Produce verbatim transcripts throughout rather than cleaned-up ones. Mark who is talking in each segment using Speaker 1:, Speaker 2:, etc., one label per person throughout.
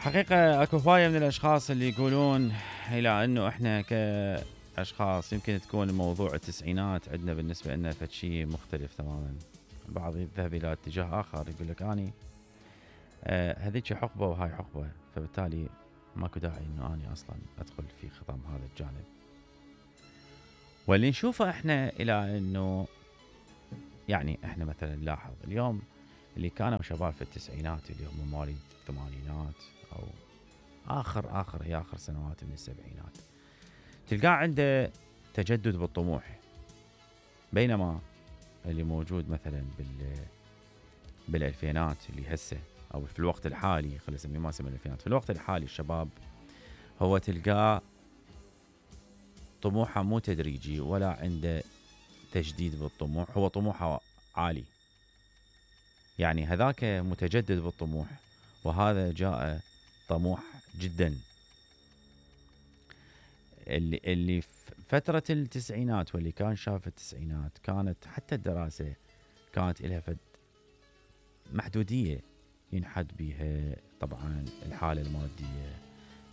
Speaker 1: حقيقة اكو هواية من الاشخاص اللي يقولون الى انه احنا كاشخاص يمكن تكون موضوع التسعينات عندنا بالنسبة لنا فد شيء مختلف تماما. البعض يذهب الى اتجاه اخر يقول لك اني آه هذيك حقبة وهاي حقبة، فبالتالي ماكو داعي انه اني اصلا ادخل في خضم هذا الجانب. واللي نشوفه احنا الى انه يعني احنا مثلا نلاحظ اليوم اللي كانوا شباب في التسعينات اللي هم مواليد الثمانينات او اخر اخر هي اخر سنوات من السبعينات، تلقاه عنده تجدد بالطموح، بينما اللي موجود مثلا بال بالالفينات اللي هسه او في الوقت الحالي، خلينا نسميه ما نسميه الالفينات، في الوقت الحالي الشباب هو تلقاه طموحه مو تدريجي ولا عنده تجديد بالطموح، هو طموحه عالي. يعني هذاك متجدد بالطموح وهذا جاء طموح جدا. اللي اللي في فترة التسعينات واللي كان شاف التسعينات كانت حتى الدراسة كانت لها فد محدودية ينحد بها طبعا الحالة المادية،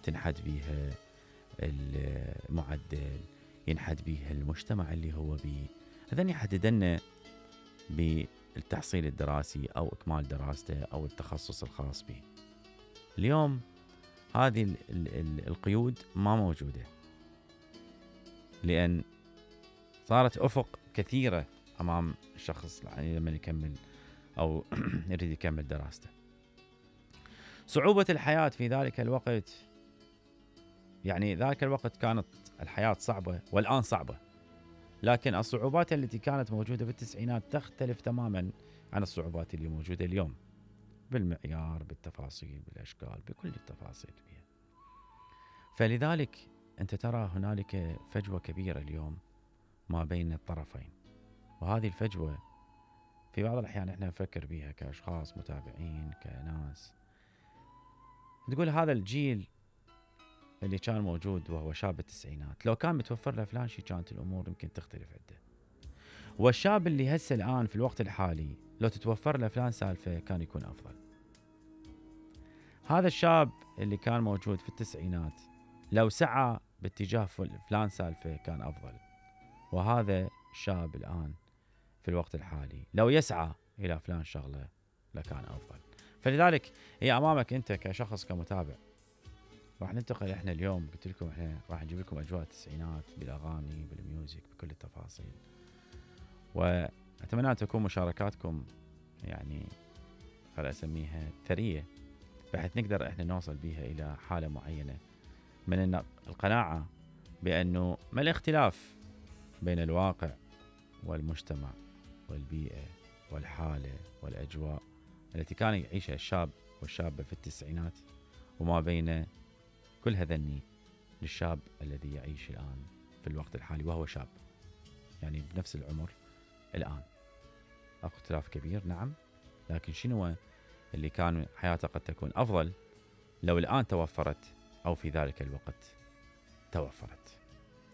Speaker 1: تنحد بها المعدل، ينحد بها المجتمع اللي هو بيه، هذا يحددنا بالتحصيل الدراسي أو إكمال دراسته أو التخصص الخاص به. اليوم هذه ال ال القيود ما موجودة، لأن صارت أفق كثيرة أمام الشخص يعني لما يكمل أو يريد يكمل دراسته. صعوبة الحياة في ذلك الوقت، يعني ذلك الوقت كانت الحياة صعبة والآن صعبة، لكن الصعوبات التي كانت موجودة بالتسعينات تختلف تماما عن الصعوبات اللي موجودة اليوم بالمعيار، بالتفاصيل، بالأشكال، بكل التفاصيل فيها. فلذلك أنت ترى هنالك فجوة كبيرة اليوم ما بين الطرفين، وهذه الفجوة في بعض الأحيان إحنا نفكر بها كأشخاص متابعين كناس، تقول هذا الجيل اللي كان موجود وهو شاب التسعينات لو كان متوفر له فلان شيء كانت الأمور يمكن تختلف عنده، والشاب اللي هسه الآن في الوقت الحالي لو تتوفر له فلان سالفة كان يكون أفضل. هذا الشاب اللي كان موجود في التسعينات لو سعى باتجاه فلان سالفة كان أفضل، وهذا الشاب الآن في الوقت الحالي لو يسعى إلى فلان شغلة لكان أفضل. فلذلك هي أمامك أنت كشخص كمتابع. راح ننتقل إحنا اليوم، قلت لكم إحنا راح نجيب لكم أجواء التسعينات بالأغاني بالميوزك بكل التفاصيل، وأتمنى أن تكون مشاركاتكم يعني خلينا أسميها ثرية، بحيث نقدر إحنا نوصل بها إلى حالة معينة من القناعة بأنه ما الاختلاف بين الواقع والمجتمع والبيئة والحالة والأجواء التي كان يعيشها الشاب والشابة في التسعينات وما بين كل هذني للشاب الذي يعيش الآن في الوقت الحالي وهو شاب يعني بنفس العمر الآن. اختلاف كبير نعم، لكن شنو اللي كان حياته قد تكون أفضل لو الآن توفرت أو في ذلك الوقت توفرت.